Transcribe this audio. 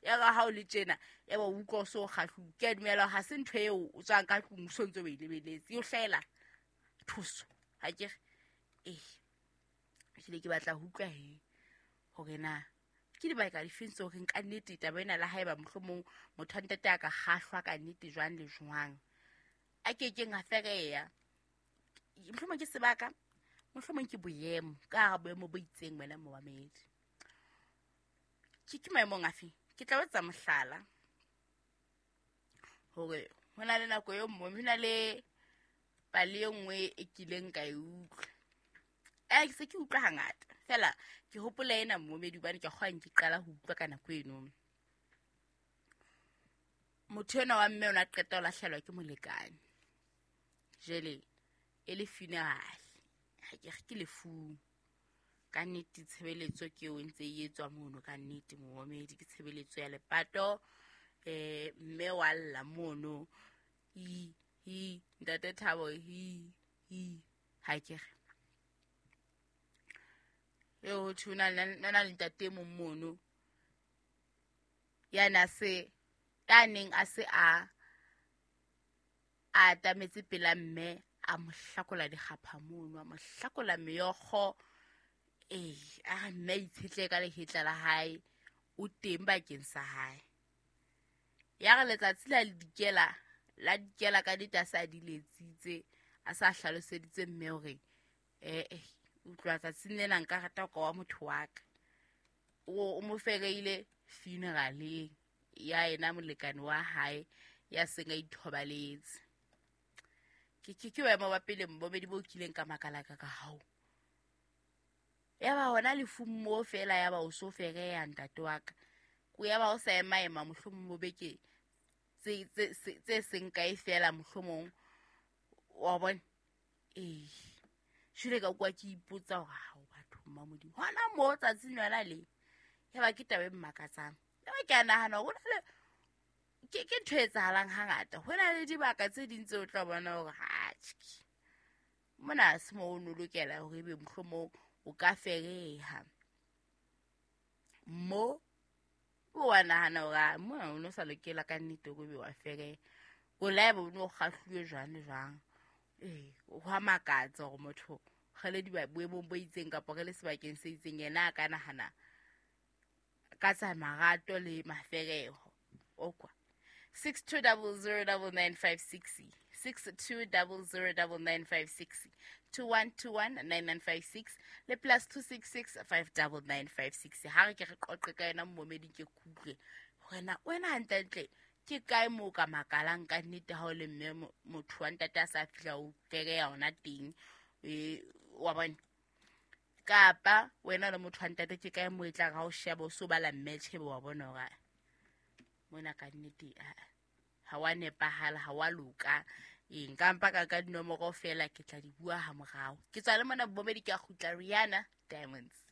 Ya ka ha o le tjena, ya ba o utlwa o so kgahluwe. Ke a dumela hore ha se ntho eo o tswang ka tlung o so ntse o e lebeletse. E o hlahela thuso. Ha ke re? Ee. Ehlile ke batla ho utlwa he hore na ke dibaka difeng tseo reng ka nnete taba ena le haeba mohlomong motho wa ntate a ka kgahlwa ka nnete jwang le jwang, a kekeng a fereya. Mohlomong ke sebaka, mohlomong ke boemo, ka hara boemo bo itseng wena momamedi. Ke maemong afe? Ke tla o etsa mohlala hore ho na le nako e nngwe, ho na le pale e nngwe e kileng ka e utlwa. Ke se ke utlwa hangata fela, ke hopola ena momamedi hobane ke kgwa ke qala ho utlwa ka nako eno. Motho enwa wa mme o ne a qeta ho lahlehelwa ke molekane. Jwale e le funeral, ha ke re ke lefung. Ka nnete tshebeletso ke eo e ntse e etswa mono ka nnete momamedi, ke tshebeletso ya lepato. Mme wa lla mono, hi hi ntate Thabo, hi hi, ha ke re. Eo ho thwe ho na le ntate e mong mono ya na se, ya neng a se a atametse pela mme, a mo hlakola dikgapha mono, a mo hlakola meokgo. Ee, a re mme a itshetlehe ka lehetla la hae, o teng bakeng sa hae. Ya re letsatsi la dikela, la dikela ka nnete a sa di letsitse, a sa hlaloseditse mme hore utlwa tsatsing lena nka rata ho ka wa motho wa ka. O mo fereile funeraleng ya yena molekane wa hae ya seng a ithobaletse. Ke boemo ba pele momamedi bo kileng ka makala ka ka hao. Ya ba hona lefung moo fela, ya ba o so fereya ntate wa ka. Ko ya ba o sa ema ema mohlomong bo beke tse seng kae fela mohlomong, wa bona. Ee, jwale ka kwa ke ipotsa hore hao batho mma Modimo, hona moo tsatsing lona le, ya ba ke taba e mmakatsang. Ya ba ke a nahana hore hona le, ke ntho e etsahalang hangata. Ho na le dibaka tse ding tseo o tla bona hore ha tjhe, mona ha se moo o no lokela hore ebe mohlomong o ka fereha. Mo o wa nahana hore a mona o no sa lokela ka nnete hore ebe wa fereha. O la ebe o no kgahluwe jwang le jwang. Ee, ho a makatsa hore motho re le boemong bo itseng kapa re le sebakeng se itseng, yena a ka nahana ka tsa marato le mafereho. O kwa. 62009956, 62009956, 21219956 le plus 266 59956. Ha re ke re qoqe ka yona momedi, ke kutlwe hore na wena hantlentle ke kae moo ka makalang ka nnete ha o le mme motho wa ntate a sa fihla o fereya hona teng, wa bona. Kapa wena le motho wa ntate ke kae moo e tlang ha o sheba o so bala mme tjhebe wa bona hore mona ka nnete ha wa nepahala, ha wa loka. Ee, nka mpa ka dinomoro fela, ke tla di bua ha morao. Ke tswa le mona bomedi, ke a kgutla. Rihanna, Diamonds.